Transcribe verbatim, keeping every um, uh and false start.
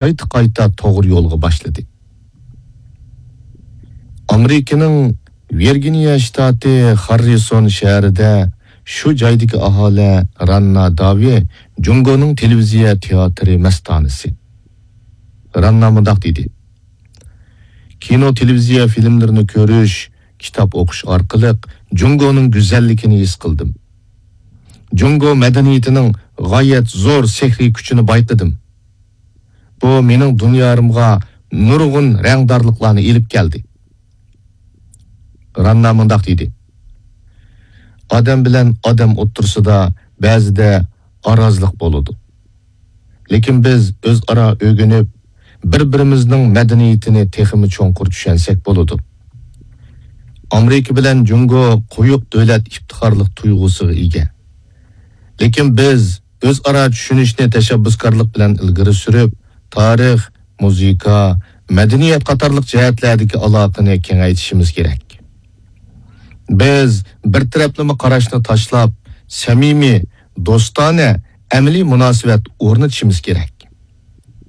قايتا-قايتا توغرا يولغا باشلىدى. ئامېرىكىنىڭ ۋىرگىنىيە شتاتى خاررىسون شەھىرىدە شۇ جايدىكى ئاھالە راننا داۋى جۇڭگونىڭ تېلېۋىزىيە تىياتىرى مەستانىسى. راننا مۇنداق دېدى: كىنو، تېلېۋىزىيە فىلىملىرىنى كۆرۈش، كىتاب ئوقۇش ئارقىلىق جۇڭگونىڭ گۈزەللىكىنى ھېس قىلدىم. جۇڭگو مەدەنىيىتىنىڭ غايەت زور سېھرىي كۈچىنى بايقىدىم. بۇ مېنىڭ دۇنيارىمغا نۇرغۇن رەڭدارلىقلارنى ئېلىپ كەلدى. راننا مۇنداق دېدى: ئادەم بىلەن ئادەم ئوتتۇرىسىدا بەزىدە ئارازلىق بولىدۇ. لېكىن بىز ئۆزئارا ئۆگىنىپ، بىر-بىرىمىزنىڭ مەدەنىيىتىنى تېخىمۇ چوڭقۇر چۈشەنسەك بولىدۇ. ئامېرىكا بىلەن جۇڭگو قويۇق دۆلەت ئىپتىخارلىق تۇيغۇسىغا ئىگە. لېكىن بىز ئۆزئارا چۈشىنىشنى تەشەببۇسكارلىق بىلەن ئىلگىرى سۈرۈپ، تارىخ، مۇزىكا، مەدەنىيەت قاتارلىق جەھەتلەردىكى ئالاقىنى كېڭەيتىشىمىز كېرەك. بىز بىر تەرەپلىمە قاراشنى تاشلاپ، سەمىمىي، دوستانە، ئەمەلىي مۇناسىۋەت ئورنىتىشىمىز كېرەك.